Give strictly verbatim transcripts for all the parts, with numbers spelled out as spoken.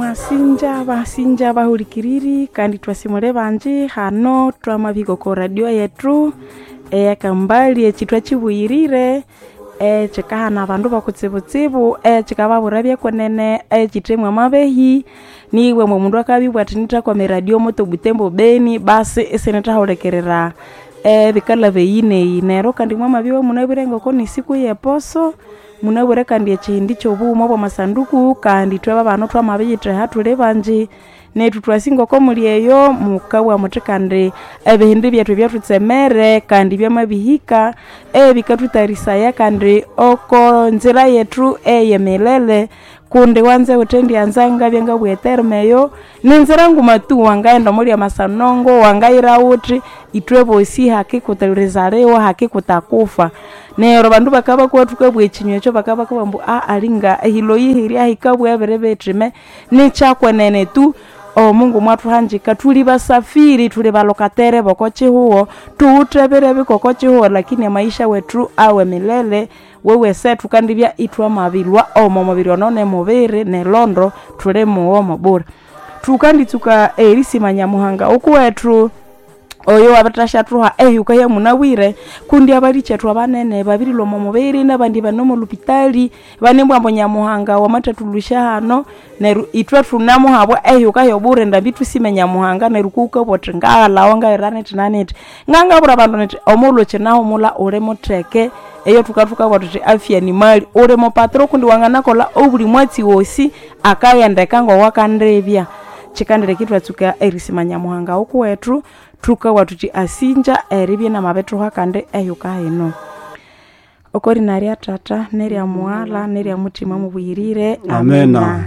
Mwasinja basinja bahulikiriri kandi twasimule banji hano twamabihika oko radio yetu eyakambali ekithwa kibuyirire ekikahana abandu bokutsibutsibu ekikababwira ebyekunene ekithemu amabehi niwe omundu akabibwa athi nithakwama eradio moto Butembo Beni basi isinithahulikirira ebikalha eyi neyi. Neryo kandi mwamabya munabwire ngoko nisiku yeposo munabwire kandi ekihindi kyobughuma obwamasanduku kandi ithwe babana twamabiyitheha thuli banji nethu twasi ngoko muli eyo mukabugha muthi kandi ebihindi byethu ebyathutsemere kandi byamabihika ebikathutarisaya kandi oko nzira yethu eyemilele kundi wanze wuthendyanza ngabya ngabugha eterm eyo ninzira nguma tu wangaghenda omuli amasanongo wangayira wuthi ithwe bosi hakikurizaliwa hakikutakufa. Neryo abandu bakabya thukabugha ekinywa ekyo bakabya ambu aa alinga ehilo yihirya hikabugha ebiri bithime nikyakwenene tu omungu mwathuhanjika thuli basafiri thuli balokatere boko kihugho thuwithe ebiro bikoko kihugho lakini amaisha wethu awe milele wewese thukandibya ithwamabilwa omo mubiri ono nemubiri nelondo thuli mughomo bure. Thukanditsuka erisima Nyamuhanga okuwethu oyo wabirithashathuha ehyuka yamunabwire kundi abalikyethu abanene babirilwa omo mubiri nabandi bane omo lupitali banebugha ambu Nyamuhanga wamathathulusya hano neryo ithwe thunamuhabwa ehyuka yobure ndambi thusime Nyamuhanga neryo kuwukabugha wuthi ngaghalhawa ngayira nithi nanithi. Ngangabwira abandu nithi omughulhu kyinahumulha uli mutheke eyo thukathuka thuthi afya ni mali uli mupatiro kundi wanganakolha obuli mwatsi wosi akaghendeka ngowakandibya. Kyikandireka ithwatsuka erisima Nyamuhanga okuwethu thukabugha thuthi asinja eribya inamabithuha kandi ehyuka hino. Okorina rya Tata nerya Mughala nerya Muthima mubuyirire. Amena.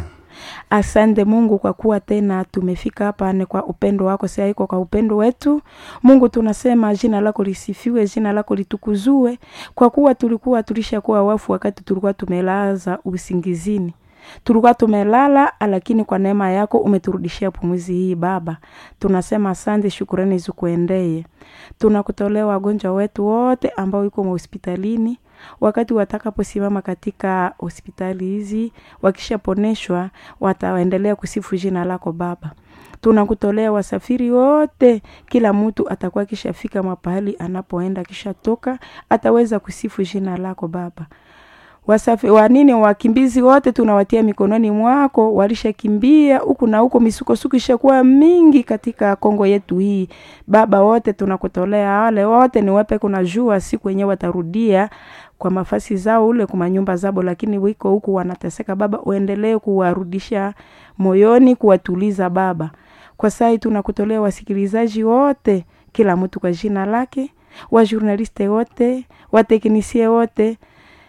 Asante Mungu kwa kuwa tena tumefika hapa ni kwa upendo wako, si haiko kwa upendo wetu. Mungu tunasema jina lako lisifiwe, jina lako litukuzue, kwa kuwa tulikuwa tulishakuwa wafu wakati tulikuwa tumelaza usingizini. Tulikuwa tumelala, lakini kwa neema yako umeturudishia pumzi hii Baba. Tunasema asante, shukurani zikuendee. Tunakutolea wagonjwa wetu wote ambao yuko hospitalini, wakati watakaposimama katika hospitali hizi wakishaponeshwa wataendelea kusifu jina lako Baba. Tunakutolea wasafiri wote, kila mtu atakuwa akishafika mapahali anapoenda, akishatoka ataweza kusifu jina lako Baba. Wasafi, wanini wakimbizi wote tunawatia mikononi mwako, walishakimbia huku na huko, misukosuko ishakuwa mingi katika Kongo yetu hii Baba. Wote tunakutolea wale wote, ni wape kuna jua siku yenyewe watarudia kwa mafasi zao ule kwa manyumba zabo, lakini wiko huku wanateseka Baba, uendelee kuwarudisha moyoni, kuwatuliza Baba. Kwa sai tunakutolea wasikilizaji wote, kila mtu kwa jina lake, wajurnaliste wote, wateknisie wote,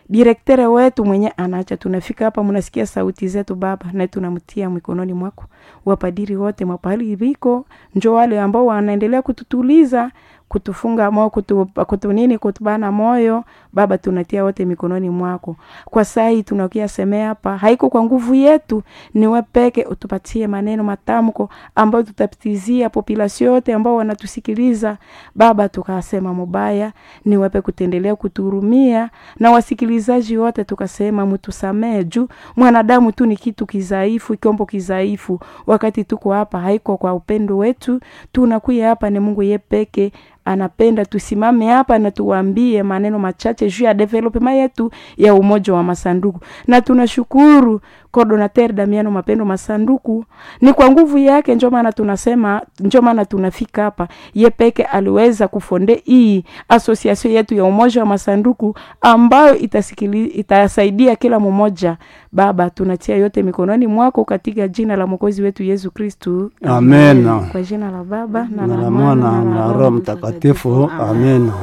direktere wetu mwenye anaacha tunafika hapa, mnasikia sauti zetu Baba, na tunamtia mikononi mwako. Wapadiri wote mapahali biko, njo wale ambao wanaendelea kututuliza, kutufunga moyo, kutu, kutu nini, kutubana moyo Baba, tunatia wote mikononi mwako. Kwa sai tunakia semea hapa, haiko kwa nguvu yetu, ni wewe peke utupatie maneno matamko ambayo tutapitizia population yote ambao wanatusikiliza Baba, tukasema mubaya, ni wewe kutendelea kutuhurumia na wasikilizaji wote tukasema mtusamee, juu mwanadamu tu ni kitu kizaifu, kiombo kizaifu. Wakati tuko hapa haiko kwa upendo wetu, tunakuya hapa ni Mungu ye peke anapenda tusimame hapa na tuwaambie maneno machache juu ya development yetu ya umoja wa masanduku. Na tunashukuru coordinateur Damiano Mapendo Masanduku, ni kwa nguvu yake ndio maana tunasema, ndio maana tunafika hapa. Ye peke aliweza kufonde hii association yetu ya umoja wa masanduku ambayo itasikili, itasaidia kila mmoja. Baba, tunatia yote mikononi mwako katika jina la Mwokozi wetu Yesu Kristu. Amena. Kwa jina la Baba na Na la la Mwana Mwana na Roho Mtakatifu. Amena.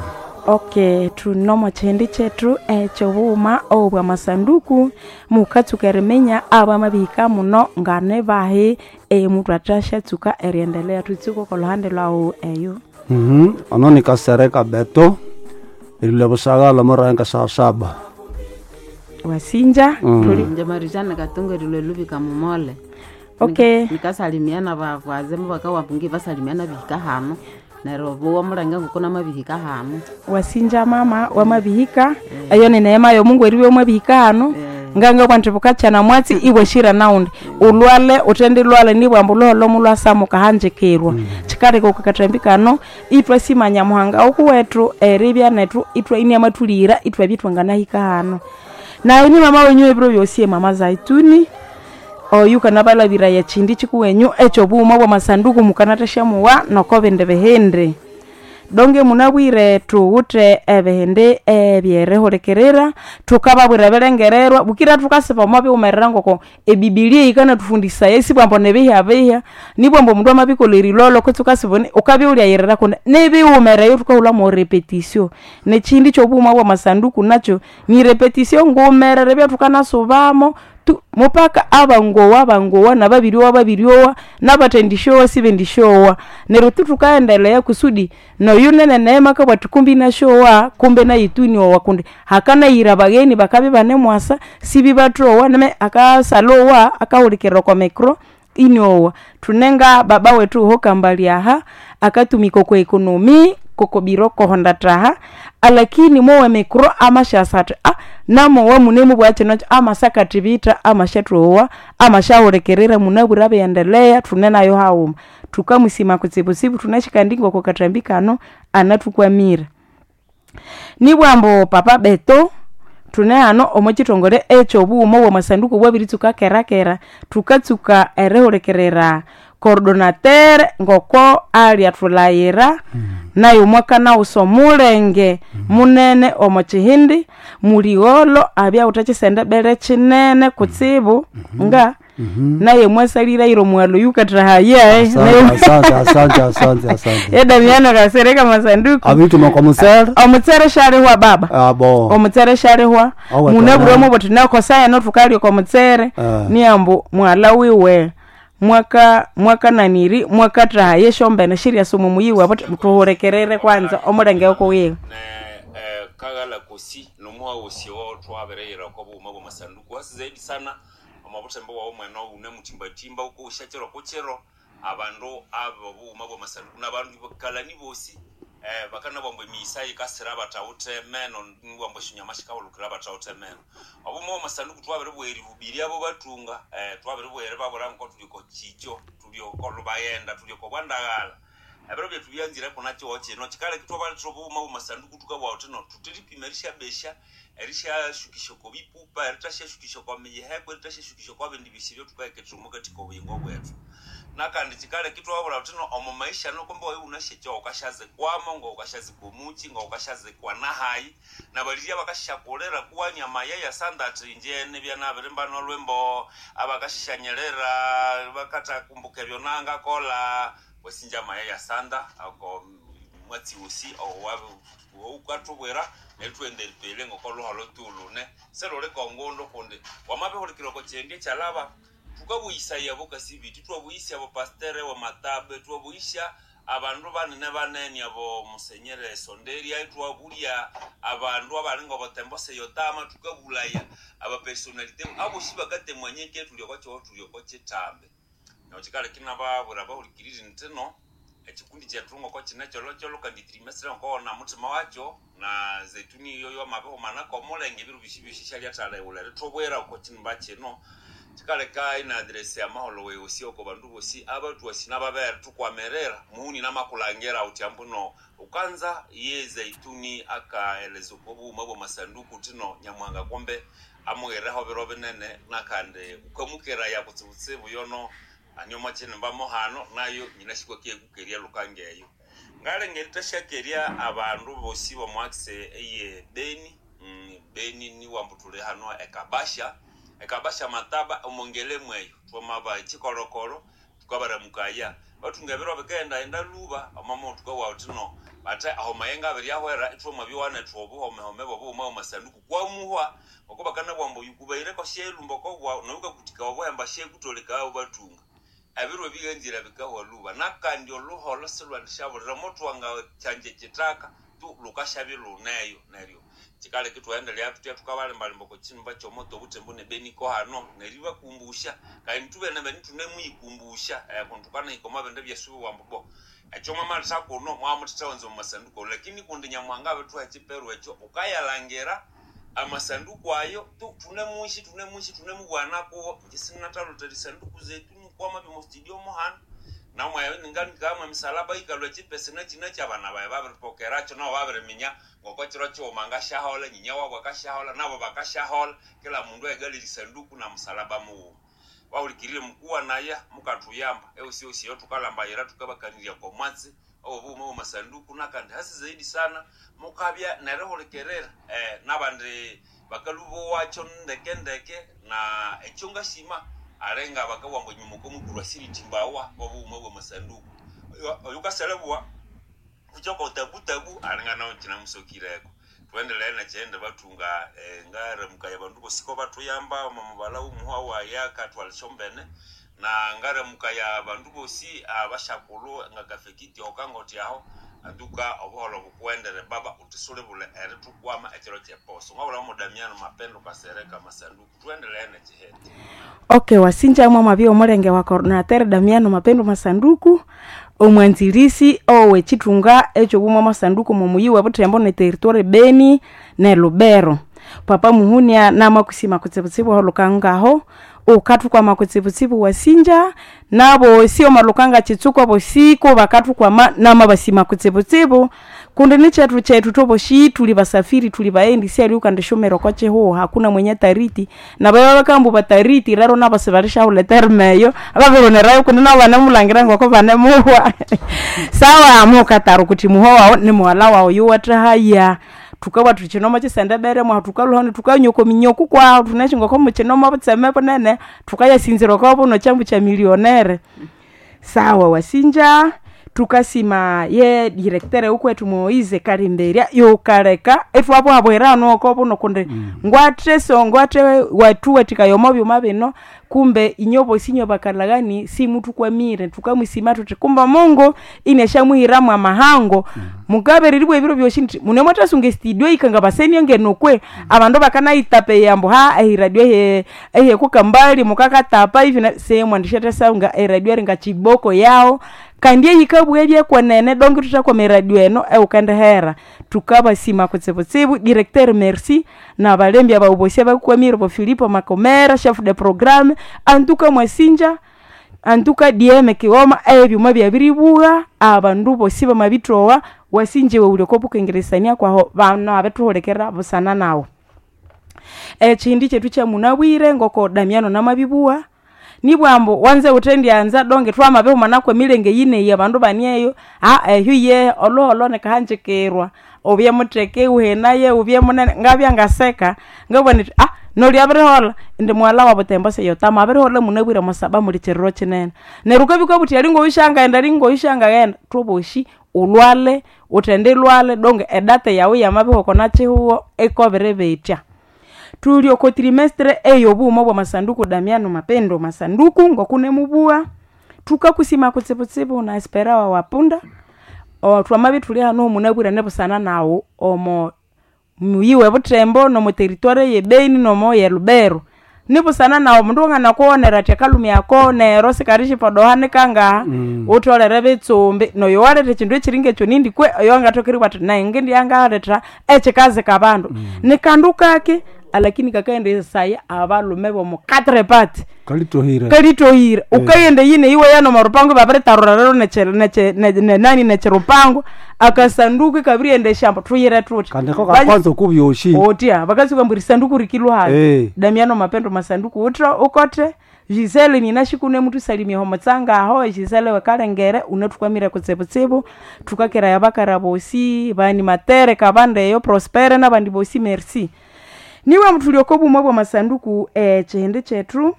Okay, tunomo chindi chetu ekyobughuma obwa masanduku mukatsuka eriminya abamabihika muno ngane bahi emundu athashatsuka eriendelea thutsuka oko luhande lwawu eyo. Mhm. Ono ni Kasereka Beto ilile busagala moranka saa saba. Wasinja Mm. tuli Nje marijana katunga rilwe lubika mumole. Okay. Nikasalimiana bavwazemu bakawampungi basalimiana bihika hano neryo buwa mulenge ngukuna mabihika hano. Wasinja mama wamabihika eyo ni neema yo Mungu eriwe mwabihika hano. Eh. Nganga bwanti bukachana mwatsi iwe shira naundi ulwale utendi lwale nibwambu lolo mulwasamuka hanjikirwa. Chikaleka ukakatambi kano itwe simanya muhanga okuwetu eribya netu itwe ini amatulira itwe bitwanganahika hano. Na ini mama wenyu ebiro byosi mama Zaituni oyu kanabalabira ya chindi chikuwenyu echo buma bwa masanduku mukanateshamuwa noko bindi bihindi. Donge munabwire tuwute ebihindi ebyerehulekerera tukababwira belengererwa bukira tukasiba omo biwumerera ngoko ebibilia ikanatufundisa esi bwambo nebiha biha nibwambo omundu amabikolha erilolo kutse ukasiba ukabiwulyayirira kundi nibiwumereyo tukahulha mo repetition. Nechindi kyobuma bwa masanduku nakyo ni repetition ngumerere ebyatukanasubamo tu mupaka abangowa abangowa nababiryowa babiryowa nabathendisyowa sibendisyowa. Neryo tu tukaendelea kusudi noyu nene neema kabwati kumbi inasyowa kumbe nayitu inyowa kundi hakanayira abagheni bakabya ibanemwasa sibibathowa neme akasalowa akahulikirira okwa micro inyowa. Thunenga baba wethu hokambali aha akatumika okwa economy kokobiro kohonda taha alakini mowe micro amasyasa athi ah namowa munemubugha kino amasakathibitha amashathowa amashahulikirira munabwire abiendelea thune nayo haghuma. Thukamusima kutsibutsibu thunashikandi ngoko kathambi kano anathukwamire. Nibwambu papa Beto thune hano omo kithongole ekyobughuma obwamasanduku bwabiritsuka kerakera thukatsuka erihulikirira coordonateur ngoko alyathulhaghira nayo mwakanawusa omulenge munene omo kihindi muligholo abyawuthe kyisendebere kinene kutsibu nga naye mwasaliraire omwalo yukathahaya. Asante, asante, asante, asante. Edamiano kasereka masanduku Abituma kwa musere omutsere shalihwa baba abo omutsere shalihwa Awa munabwire tana. mubuthi nakosa eno thukalya oko mutsere Ah. niyambu mwala wiwe mwaka mwakananiri mwakathahaya esyombene shiryasa omo muyi wabo thuhulikirire kwanza omulenge okuwiwe ne eh, kagala kosi nomuha wosi wo twabireyira kwa bughuma bwa masanduku hasi zaidi sana omabuthembo wawu mwene une mutimbatimba ukousha chiro kuchiro abandu abo bughuma bwa masanduku nabandu kalani bosi eh, bakana bwambo emiyisa yikasira abathawuthe meno bwambo eshinyama shikahulukira abathawuthe meno obughuma bwa masanduku twabiribugha abo bathunga eh, twabiribugha babura nko tuliko chicho tulioko lubayenda tulioko bwandagala ebiro byethu byanzire kuna chiwo chino chikaleka twabalitha obughuma bwamasanduku tukabugha thuthi no thuthiripima erishabesha erishashukisha oko bipupa eritashashukisha oko miyiheko eritashashukisha oko bindi bisi ebyothukahekethera omukati kobuyingo bwethu nakandi chikaleka itwababwira thuthi no omo maisha nokumbe wayi wunasyecho wukashazikwamo ngawukashazikwa omuchi ngawukashazikwa nahayi nabalirya bakashakulira kuwanya mayaya sanda athi inje nibya nabirimba nolwimbo abakashishanyirira bakathakumbuka ebyo nangakola wesinja mayaya sanda ako mwatsi wosi owukathubwira neryo thughenda eripele ngokoluholo tulune seluli kongundu kundi wamabihulikira oko kyendi ekyalaba thukabuyisaya bokasibiti twabuyisya bopastere wamatabe twabuyisya abandu banene banene abo musenyere sonderia twabulya abandu abalinga obotembo seyotama thukabulaya abapersonalite abosi bakatemwanyeke thuli oko kyoho thuli oko kithambe neryo kikaleka inababwira abahulikiriri ntino ekikundi kyethu ngoko kine kyolokyolo kandi trimestre ngokowona muthima wakyo na zeituni iyo yamabihumana komulenge ebiro byosi byosi syalyathalighulha erithubwira oko kinimba kino kikaleka ina address amaholo weyosi oko bandu bosi abatwasi nababere tukwamerera muhuni namakulangira uthi ambuno ukanza ye zeituni akaeleza oko bughuma bwa masanduku tino nyamuhanga kombe amughireho biro binene nakandi ukamukeraya kutsibutsibu yono anyoma kinimba muhano nayo nyinashikwakiye kukeria lukangeyo ngalenga eritashakerya abandu bosi bomwakise eye beni mm, beni niwambu tuli hano ekabasha ekabasha mataba omongele mweyo twamaba ekikolokolo tukabaramukaya bathunga ebiro bikayendaghenda luba omama tukawa uthino bathe aho mayenga abiri ahwera ithwamabyowanethu obuhomehome bobughuma bwamasanduku kwamuhwa ngoko bakanabugha yukubaireko syelumba okobwa noyukakuthika obuhemba syekutoleka bathunga ebiro ebighanzire bikahwa luba nakandi oluholo silwandishabulira mothwanga kyanje kitaka tu lukashabya luneyo neryo kikaleka ithwaendelea thutya thukabalimbalimba oko kinimba kyomoto obuthembo nebeniko hano neryo ibakumbusha kandi thubene beni thunemuyikumbusha eh, kundi thukanahika omwa bindu ebyasubiwa ambu bo ekyo mwamalitha kuno mwamuthithawanza omu masanduku lakini kundi nyamuhanga abithuha ekiperu ekyo ukayalangira Amasanduku ayo tu tunemuishi tunemuishi tunemubwana kuwo nje sinatalote lisanduku zetu nikwama bimo studio muhana namwe ninganikama misalaba ikalwa chipese nachina chabana bae babiripokeracho nabo babiriminya ngoko chiro chiuma ngashahola nyinya wabo akashahola nabo bakashahola kila mundu aigale lisanduku na musalaba muwuma waulikirire mkuwa naya mukatuyamba eusiosiyo tukalambayira tukabakanirya komwatsi obuuma bwa masanduku nakandi hasi zaidi sana mukabya nerihulikirira eh, nabandi bakalubo wacho ndeke ndeke na ekyo ngashima arenga bakawamba nyuma komukuru asiritimbawa obuuma bwa masanduku oyukaselebwa kuchoko tabu tabu arenga nawo kinamusokireko tuendelee nakyende batunga eh, ngaremuka ya bandu bosiko batuyamba mamubala umuhwa waya katwalishombene na ngaremuka ya bandu bosi abashakulu nga kafekiti okangoti aho anduka obuholo bukuendere baba utisulibule eritukwama ekiro kyeposo ngabula mudamiano mapendo kasereka masanduku tuendelee nekihete. Okay, wasinja mwa mabia omulenge wa coordinateur Damiano Mapendo Masanduku omwanzilisi owe chitunga ekyo bumwa masanduku mumuyi wa Butembo ne territoire Beni ne Lubero. Papa muhunia namakusima kutsibutsibu holukangaho ukatukwama kutsibutsibu wasinja nabo sio malukanga chitsuko bosiko bakatukwama nama basima kutsibutsibu kundi ni chetu chetu toboshi tuli basafiri tuli baendi si ukandishomero kwa cheho hakuna mwenye tariti na baba bakambu batariti raro nabo sebarisha uletermeyo ababironerayo kundi nabo banamulangira ngoko banemuhwa sawa mukataro kuti muhowa ni muwala wawo yuwatahaya tukawa tuchinoma chisendebere mwa tukaluhani tukanyoko minyoku kwa tunachingoko muchinoma butseme bunene tukayasinzira kwa buno chambu cha milionere sawa wasinja tukasima ye directeur ukwetu Moize Karimberia yokaleka etwapo habwera noko buno kunde mm. ngwate so ngwate watuwe tikayomo byuma bino kumbe inyobo sinyo bakalagani si mutu kwamire tukamwisima tuti kumba Mungu ineshamuhiramu amahango mm. mugabe riribwe ebiro byoshi nti mune mwatasunga studio ikanga baseni ngenokwe mm. abandu bakanaitape yambo ha ehiradio ehe ehe kukambali mukakatapa hivi na sehemu andishata saunga eradio ringa chiboko yao kandi eyikabwelye kwenene dongi tutakwa eradio eno eukandehera tukabasima kutsibutsibu directeur merci na balembi abaubosia bakukwamire bo Filipo Makomera chef de programme antuka mwasinja antuka D M kioma ebyuma byabiribuga abandu bosi bamabitowa wasinjiwe uleko bukengeresania kwaho bana abetuholekera busana nawo ekindi chetu kya munabwire ngoko Damiano namabibua nibwambo wanze utendyanza donge twamabehuma nakwe milenge yineyi abandu banieyo a ehyu ye oloholo nikahanjikirwa ubye muteke uhenaye ubye munene ngabya ngaseka ngabona nti ah noli abirihola indi mwala wa Butembo seyotama abirihola munabwire musaba muli chiriro chinene neryo ukabika buti ali ngoyushanga ali ngoyushanga tuboshi ulwale utende lwale donge edate yawe yamabihoko nachihuo ikobere betya tuli oko trimestre eyo bumo bwa masanduku Damiano Mapendo Masanduku ngokune mubua tukakusima kutsibutsibu na espera wa wapunda o twamabi tuli hano munabwira nebusana nawo omo muyiwe Butembo nomo territoire ye Beni nomo ye Lubero nibusana nawo mundu ungana kuonera ati akalumi ako nero sikarishi podohane kangaha mm. utolere bitsumbi noyo waleta chindu echiringa ekyo nindi kwe oyo angatokeriwa ati naye ngindi yangaleta echikazi kabandu mm. ni kandu kake alakini kakaenda saya abalume bomo quatre parts kalitohire kalitohire yeah. Ukayenda yine iwe yano marupango babiritarura rero neche neche ne, ne, nani nechirupango akasanduku kabirienda eshamba tuyire tuti kandi ko kakwanza kubyoshi otya vakasuka mburi sanduku rikilwa Eh. Damiano Mapendo Masanduku utra ukote Gisele ninashikune mtu salimia homo tsanga aho Gisele wekalengere unatukwamira kutsibutsibu tukakera yabakara bosi bani matere kabandeyo Prospere nabandi bosi merci niwe mtulioko bumwe bwa masanduku eh, chihindi chetu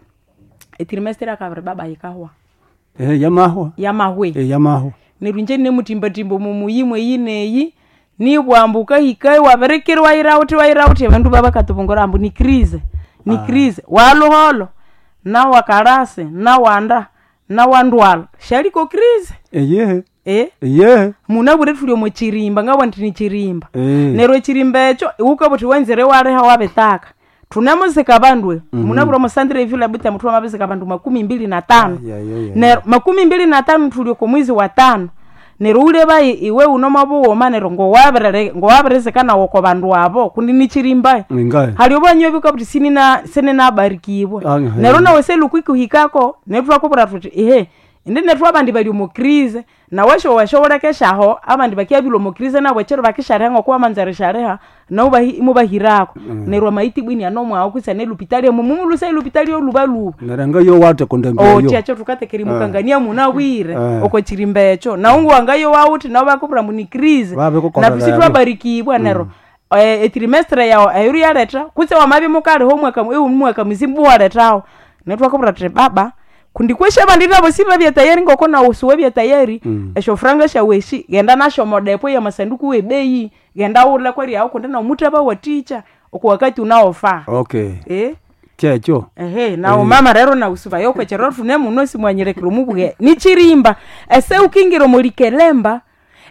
etrimestre akabiri baba yikahwa eh yamahwa yamahwe eh yamahwa neryo inje nemutimbatimba mumuyimwe yineyi nibwambuka hikayi wabirikiri waira uthi waira uthi abandu babakatubungura ambu ni crise ni crise waluholo nawakarase nawanda nawandwala shaliko crise eyehe eh eyehe munabwire thuli omo chirimba ngabwa nti ni chirimba Eh. neryo echirimba ekyo iwukabwa wenzere waleha wabitaka tunemuzika bandu mm -hmm. munabwire omusandire evila buta muthu wamabizika bandu makumi mbili na tano Ay, ay, ay, ay. neryo makumi mbili na tano thuli oko mwezi wa tano Neryo uleba iwe uno mabughuma neryo ngowabirere ngowabirizikana woko bandu abo kundi nichirimba. Ingae. Hali obwanyo bika buti sinina sininabarikibwa. Ah, ehe. Neryo nawe selukikuhikako netwakubwira thuthi ehe indi nethu abandi bali omu crise nawe showashobolekeshaho abandi bakyabila omu crise nabo ekiro bakishareha ng'oku wamanza erishareha nabo bahi- imubahirako. Neryo amaiti bwini anomwaho kwitsi nelupitali mumumulusa elupitali olubaluba. Neryo ngayo wate kundembya yo. Otya kyo thukatekerimukangania munabwire Eh. oko chirimba ekyo nawu wangayo wawuthi nabo bakubwira mbu ni crise Babikukolera nathu sithwabarikibwa neryo eh, etrimestre yawu eyuru yaletha kutse wamabya mukaliho omwaka iwu mwaka muzima iwalethawo netwakubwira thuthi baba kundi kwesha abandi nabo sibabya tayari ngoko nawu siwabya tayari. Mm. Esyo franga syawu esi ghenda nasyo omodepo y'amasanduku w'ebeyi ghenda wule kweryawu kundi nawu muthabawathikya oko wakati unaofaa. Okay. Eh? Kyekyo. Ehe, nawo mama rero nausubayo kwechero tune muno simwanyirekera omubwe nichirimba ese ukingira omulikelemba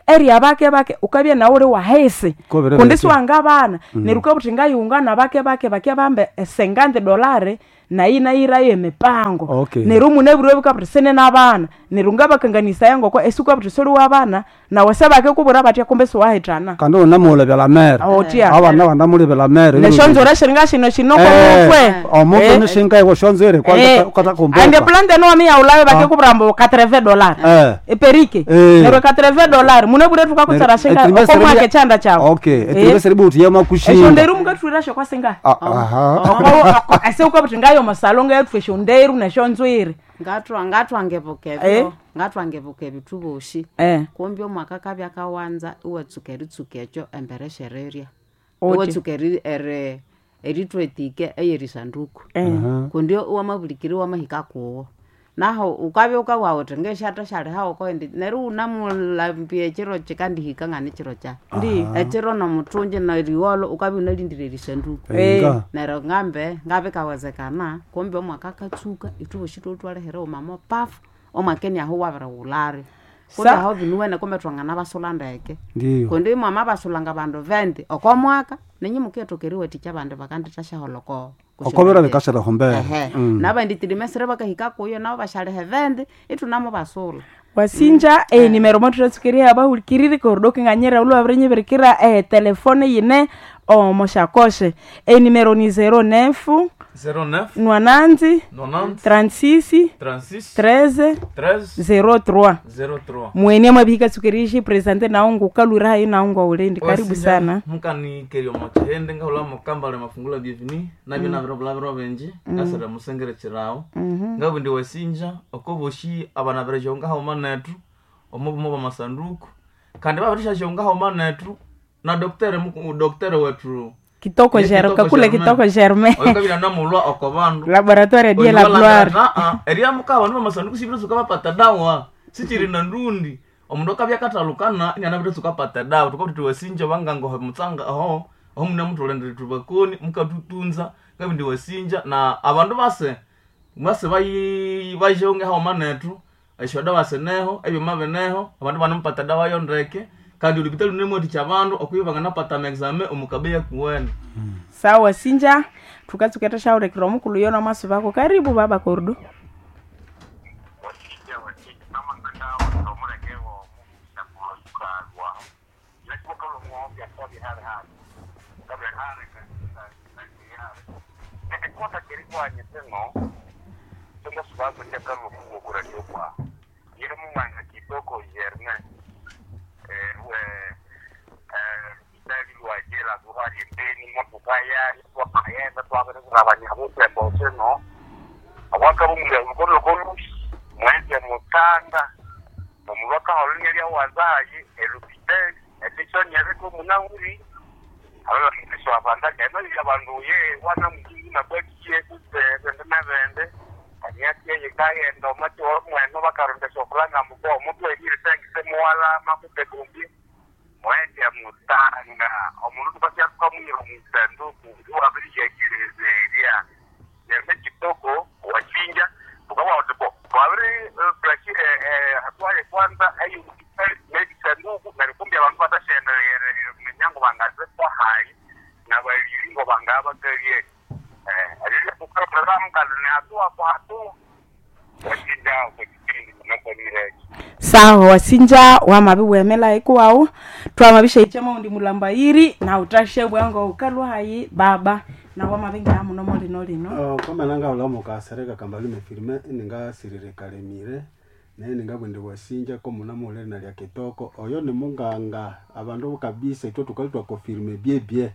eri bake bake ukabya nawe uli wahesi Kobere kundi beke. siwanga bana mm. neryo ukabuthi ngayungana bake bake bakya bambe esengandi dolari nayi nayirayo emipango. Okay. Neryo munabwire bukabuthi sine nabana neryo ngabakanganisaya ngoko esi ukabuthi soli wabana nawe sebakikubwira batya kumbe siwahithana. Kandi unamulebela mere. Otya. Abana banamulebela mere. Neshonzora shiringa shino shinoko mutwe. Omutwe Eh. nishinga iwo shonzere Eh, kwanza kumbuka. ande plante no mi yaulayo bakikubwira mbu quatre-vingts dollars Eh. eperike. Eh. Neryo quatre-vingts dollars munabwire thukakutsara shinga okomwaka echanda chawu. Okay, etrimestre buti yama Esyo kushinga. nderu mukathwirasyo kwasinga Ah, aha. ese ukabuthi ngayo masalo ngayathwa esyo nderu nesyo nzwiri. Ngatwa ngatwangebuka Eh. ebyo ngatwangebuka ebithu boshi. Eh. Kumbi omwaka kabya kawanza iwatsuka eritsuka ekyo embere shererya. Oti. Iwatsuka eri eri erithwetike eyerisanduku. Eh. Kundi wamabulikiri wamahika kuwo naho ukabya ukabugha wuthi ngeshatha syalihawo koindi neryo wunamulambya ekiro kikandihika ngani kiro kya Ndi. ekiro nomuthungi neriwolo ukabya wunalindire erisanduku. Inga. Neryo ngambe ngabikawezekana kumbe omwaka akatsuka ithwe bosi twalihira mama pafu omwaka eniaho wabirighulari kundi Sa- aho binuwene kumbe twangana basula ndeke. Ndiyo. Kundi mwama basulanga bandu vendi oko mwaka ninyi mukethoka eriwathikya abandi bakandithasyaholoko Okobera bikasira hombere. ehe Mm. nabandi trimestre bakahika kuyo nabo basyaliha vendi ithunamo basula. Wasinja eh, nimero mothuratsukeria abahulikiriri kordo kinganyira ulwabirinyivirikira eh, telefone yine omoshakoshe enimero ni zero nine zero neuf nwananzi nonante trente-six trente-six treize treize zero trois zero trois. Mwene mwabihika tsukerishi presente naungu ukalwira hayi naungu aulendi karibu Wasinja, sana. mukanikeria omochihende ngahula mukambale mafungula bienveni nabyo nabiro bulabiro benji ngasira musengere chirawo ngabundi wasinja okoboshi abana berejo ngahauma nethu omubumo bamasanduku kandi babirisha ngahauma nethu na doktere muku- doktere wetu Kitoko Ye Germain, Kitoko kakule Germain. Kitoko Germain. Oyo kabira namulwa oko bandu Laboratoire die la gloire. eria mukaba bandu bamasanduku sibiritsuka bapata dawa sichiri na ndundi omundu akabya katalukana inianabitsuka pata dawa tukabuti tiwasinja bangangoho mutsanga aho aho mune muthulenderere tubakoni mukatutunza ngabindi wasinja na abandu base base bayi bajonge hauma nethu esyoda baseneho ebyuma bineho abandu banamupata dawa yondeke kandi olupita lunemwathikya abandu okwiba banganapata amaexame omukabeya kuwene. Sawa sinja tukatsuka tashaurekera omukulu yona maso bako karibu baba kordo. Wakija wakija namangana omuleke womusakukalwa yakukalomuombya twabihali hali kabihali ekota kerikwanye teno tongasubazo kyakalukuwokuraliokwa yeri mumwanga kitoko germain itali lwajela luhali mbeni motokayali twakayenda twaberekurabanyabupembo seno awakabumulya lukolokolu mwezi mutanga omubaka olunya lyawanzayi elupiteli etisonyereko munahuri ababakitiswa abandaka eno abandu ye wana mujingi nabwakiye kuse bende na bende kanyati yekayenda omati mweno bakarondesa okulanga muko omuntu erire sengise muwala makupe kumbi mwezi mutanga omundu tukasyakukamwira omusanduku wabiriyekirezeria nerme kitoko wachinja tukabawatipo twabiri plaki hatwale kwanza eyo nebisanduku narikumbi abantu batashenderere minyango bangaze kwa hayi nabaliringo bangabakalie Sawa wasinja wamabi wemela ikuwawu twamabisha maundi mulambayiri na utashe bwango ukalwa hayi baba na wamabi ngaa muno molino lino Oh, kwamana ngahula mukasereka kambalume firme ningasirire kalemire naye ningabwende wasinja ko muna muhulere na lya kitoko oyo ni munganga abandu kabisa itwe tukali twakofirme byebye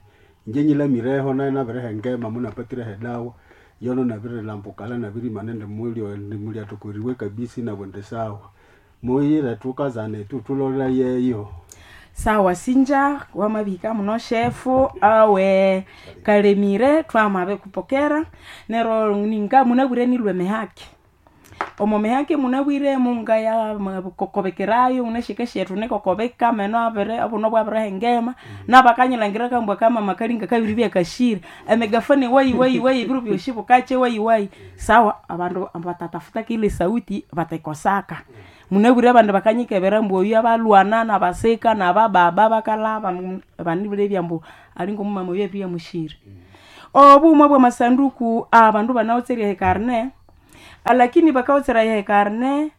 inje nyilamireho naye nabirehe ngema munapatirehe dawa yono nabirelambukala nabirima nende mwili ndi atukuriwe kabisa inabwende sawa muyire tukazane tu tulola yeyo sawa sinja wamabika muno shefu awe kalemire twamabe kupokera nero ninga munabwire nilwe mehaki omo mehaki munabwire munga ya kokobekerayo unashike shetu nikokobeka meno abere obuno bwabere ngema nabakanyilangirira kambwa kama makalinga kabiri byakashira emegafone wai wai wai biro byoshi bukache wai wai sawa abandu batatafuta kile sauti batekosaka munabwire abandu bakanyikebera mbu oyu abalwana nabaseka nabababa bakalaba banibulebya mbu alinga omumama oyu ebirya mushire obumwe bwa masanduku abandu banaotserya ekarne lakini bakaotsera ekarne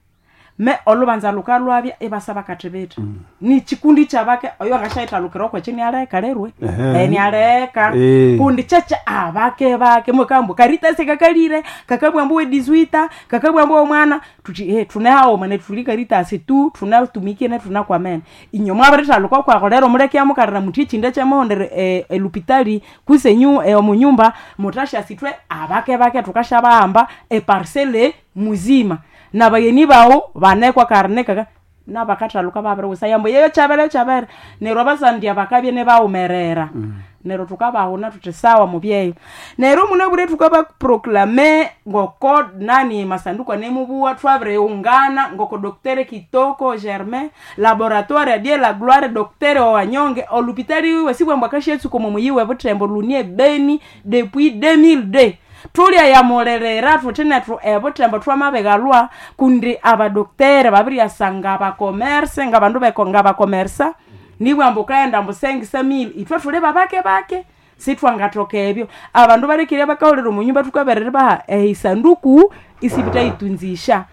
me olubanza lukalwabya ibasa bakathibitha mm. ni chikundi chabake oyo akashaithalukira okwechi nialeka lerwe Ehe. e nialeka Eh. kundi chacha abake bake mwekambu karitasi kakalire kakabwambu wedizwita kakabwambu omwana tuti eh tunahaoma netuli karitasi tu tunatumike ne tunakwamene inyo mwabirithaluka kwako lero muleke amukalira muthi echinde chemuhondere eh, elupitali kusenyu eh, omunyumba mutasha sitwe abake bake tukashabahamba eparsele muzima nabayeni bawo banekwa karne kaka nabakathaluka babiriwusa yambo yeyo chabere chabere neryo abasandya bakabye nebawumerera mm. neryo tukabahuna tuthi sawa mubyeyo neryo munabure tukabaproklame ngoko nani masanduku anemubuwa twabiriungana ngoko doktere kitoko germain laboratoire adie la gloire doktere wawanyonge olupitali wiwe sibwambwa kashetsuko mumuyiwe butembo lunie beni depuis deux mille deux tulya yamulelera thuthi nethu ebutembo twamabigalwa kundi abadoktere babiryasanga abakomerse ngabandu beko ngabakomersa nibwamba ukaghenda mbu sengisa mili ithwe thuli babake bake sithwangathoka ebyo abandu balekire bakahulira omunyumba thukaberera baha ehisanduku isibithayitunzisha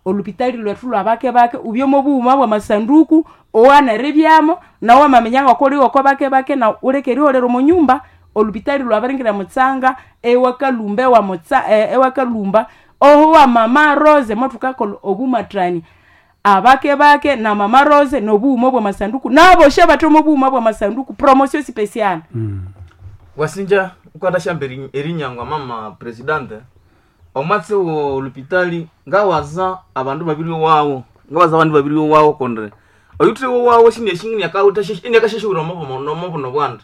olupitali lwethu lwabake bake ubyomo bughuma bwa masanduku owaneribyamo nawe wamaminya ngokoliwoko bake bake na uleke eriholera omunyumba olupitali lwabaringira mutsanga ewakalumba ewa mutsa eh, ewakalumba oho wa mama rose motukakola obumatrani abake bake na mama rose nobuuma bwa masanduku naboshe batoma obuuma bwa masanduku promotion special mm. wasinja ukatashyamba eri- erinyangwa mama presidente omwatsi wo lupitali ngawaza abandu babiri wawo ngawaza abandu babiri wawo kondre oyuthi wawo shiniakasheshiwira omobuno bwanda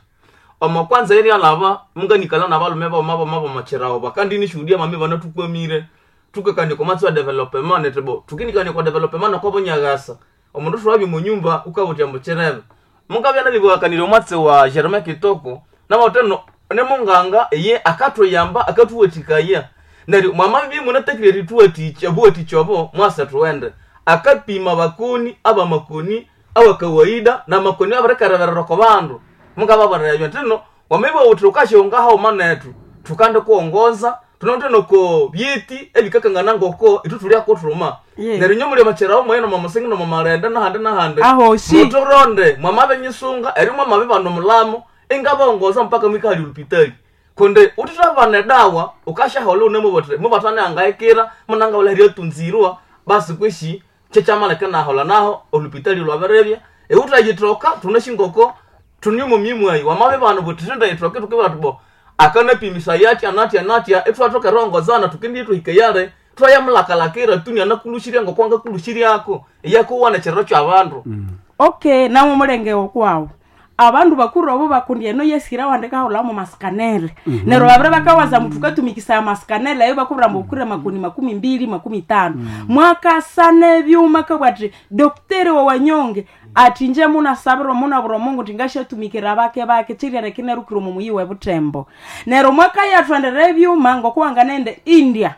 omo kwanza eri alaba munganikala nabalume boma boma bomachirawo bakandi nishuhudia mami bana tukwamire tukakania kwa matsi wa development netebo tukinikania kwa development kwa bonyagasa omundu thwabye munyumba ukabutya muchirebe mungabya nalibwakanire omwatsi wa Jerome Kitoko nabawuteno nemunganga eye akatuyamba akathuwathikaya neryo mwamabi munatakire erituwathikya obuwathikya obo mwasa thuwende akapima bakoni abamakoni awakawaida namakoni abirikareberera oko bandu mungababonera ebyo ntino wamaiba wuthi ukashonga hauma nethu thukande kuwongoza tunawuthe ko byeti ebikakangana ngoko ithu thulya kuthuma Yeah. neryo nyo muli macherawo mwene nomamusingi nomamalenda nahandi nahandi Ahosi. muturonde mwamabe nyisunga eri mwamabe bano mulamo ingabongoza mpaka mwikahali olupitali kundi utithabana edawa ukashahola une mubotre mubatane angaikira munangabula ryatunzirwa basi kweshi kyekyamaleka nahola naho olupitali lwabirebya eutayithoka tunashingoko tuniumumimwayi wamabe bano butithendayithoke tukibala tubo akanapimisa yatya natya natya ithwathoka erongozana tukindi tuhike yale twayamulakalakira tuni anakulushiria ngokwanga kulushiriako iyakuwana ekiriro kyabandu okay namwe mulenge wokwawu abandu bakuru abo bakundi eno yesira wandikahulamo masikanele mm -hmm. neryo babiri bakawaza muthu katumikisaya masikanele ayo bakubwira mbu ukure makuni makumi mbili makumi tano mm. mwakasana ebyuma kabwati dokteri wa wanyonge ati nje munasabira munabura mungu tingashatumikira bake bake chiryere kinerukire mumuyi webutembo neryo mwakayathwendera ebyuma ngokuwanga nende india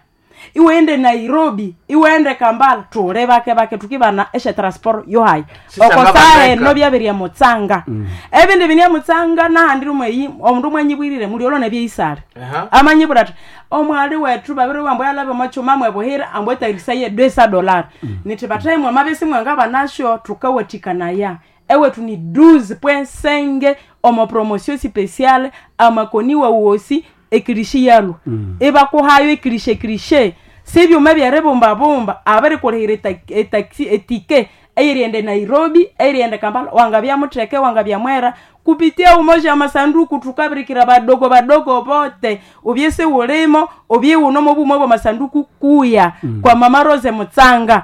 Iwende Nairobi, iwende Kampala, tule bake bake tukibana eshe transport yohayi. Sisanga Okosahe bandeka. no byabirya mutsanga. Ebindi binya mutsanga nahandi rumwe omundu mwanyibwirire muliolo nebyeisale. Aha. Amanyibwira ati omwali wetu babiri wambo yalabe mwachuma mwebuhira ambwe tairisaye dwesa dolari. Niti bataye mwamabesi mwanga banasho tukawatikana ewetu ni douze point cinq omo promotion spéciale amakoni wa uosi ekirishi yalo mm. Ebakuhayo ekirishe ekirishe sibyuma byeribumbabumba abirikulihira eta- etaxi etike eyiriende Nairobi, eyiriende Kampala, wangabya mutheke wangabya mwera kupitia umoja wa masanduku tukabirikira badogo badogo bote ubyese ulimo ubye uno mobumo bwa masanduku kuya mm. Kwa mama Rose Mutsanga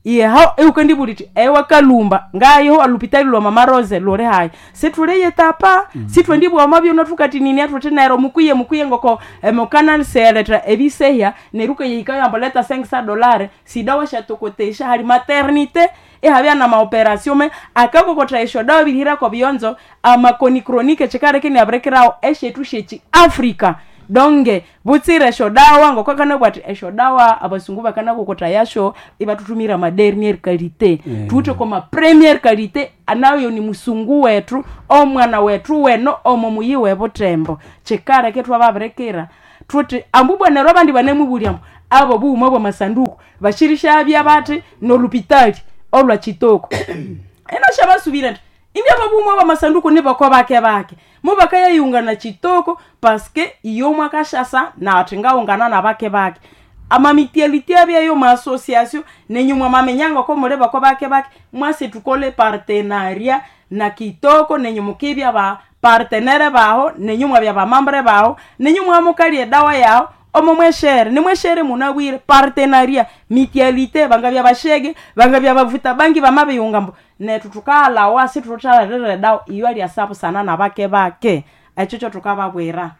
yeho eukandibuliti ewa kalumba ngayo alupitali lwa mama Rose lore hayi situleye tapa mm. Sitwendibwa mabyo tukati nini atutinero mukuye mukuye ngoko emokana seleta ebiseya neruka yikayo amboleta cinq cents dolari sidawa shatokotesha hali maternité ihabya na maoperation me akakokota esho dawa bilihira ko bionzo amakoni chronique chikareke ni abrekirao eshetu shechi Africa donge butsire esho dawa ngokakana bwati esho dawa abasungu bakana kokota yasho ibatutumira ma dernière qualité mm. Tuute koma première qualité anayo ni musungu wetu omwana wetu weno omo muyi webutembo chikareke twababirekera tuti ambubwanero abandi banemubulya abo buuma bwa masanduku bashirisha bya bati nolupitali olwa chitoko eno shabasubira nti india babumwa ba masanduku ni bako bake bake mubakayayunga na chitoko paske iyo mwakashasa na ati ngaungana na bake bake amamitialite abyayo maassociation nenyumwa mamenyanga ko mule bako bake bake mwase tukole partenaria na kitoko nenyu mukibya ba partenere baho nenyu mwabya bamambre baho nenyu mwamukalie dawa yaho omo mweshere nimweshere munabwire partenaria mitialite bangabya bashege bangabya bavuta bangi bamabiyungambo netu tukalawa situthalerere dawa iyo alyasabu sana na bake bake ekyo kyo tukababwira.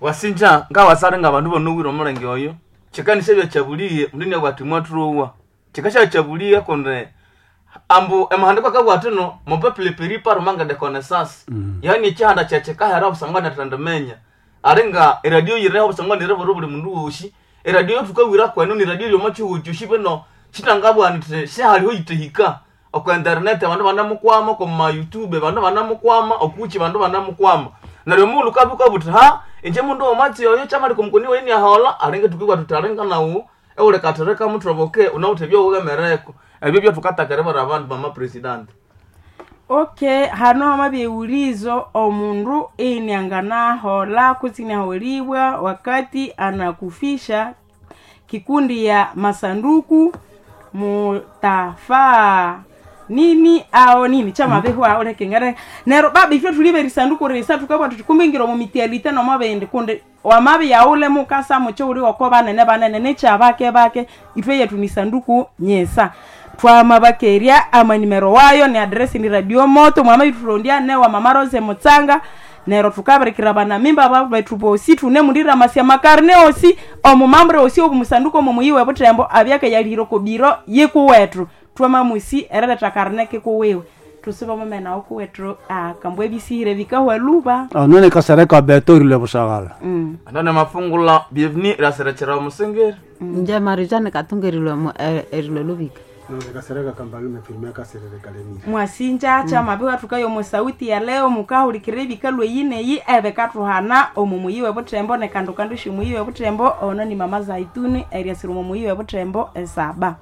Wasinja ngawasale nga bandu bonowire omulenge oyo chikanisha byakyabuliye mundu niabwati mwathurowa chikasha kyabuliye kundi ambu emahandiko akabwati no mopeuple peri par manque de connaissance, yaani ekihanda kyekikahera obusangwa nethendimenya ari nga eradio yireho obusangwa niribura buli mundu wosi eradio yothukawira kwenu ni radio yomo kyosi bino shitangabwa nti shihaliho yitehika oku internet abandu banamukwama oku ma youtube bandu banamukwama okuki bandu banamukwama neryo omughulhu kabuka buthi ha inje mundu womatsi oyo kyamali kumukoni wayi niahola alinge tukibwa thuthi alinga nawu ewulikathirika muthoboke unawuthe ebyowughemereko ebyo byathukatakiribara abandu mama president. Okay, hano hamabye ulizo omundu ini anganahola kutsi inaholiwa wakati anakufisha kikundi ya masanduku mutafaa nini ao nini chamabehwa olekengere nero baba ifyo tulibe risanduku risa tukabwa tukumbingira mu mitialite no mabende kunde wamabe yaule mukasa mucho uli wako banene banene necha bake bake ifyo yetu ni sanduku nyesa twamabakerya amanimero wayo ni adresi ni radio moto mwama itulondia ne wa mama Rose Mutsanga nero tukabirikira bana mimba babetu bosi tune mundira masia makarne osi omumambre osi obumusanduko omumuyiwe butembo abyake yalihiro kobiro yikuwetu twamamusi erereta karne kikuwiwe tusiba mumena okuwethu akambwa ebisihire bikahwa luba. Anone kasereka beto rile busagala. Mm. Anone mafungula bienvenue iraserekera omusengeri. Nje marijani katungerilwe erilwe lubika. Kasereka kambalume firme kaserere kalemire. Mwasinja cha mabiwa tukayo musauti ya leo mukahulikira ebikalwe yineyi ebekathuhana omu muyiwe butembo ne kandu kandu shimuyiwe butembo ono ni mama Zaituni eriasira omu muyiwe butembo esaba.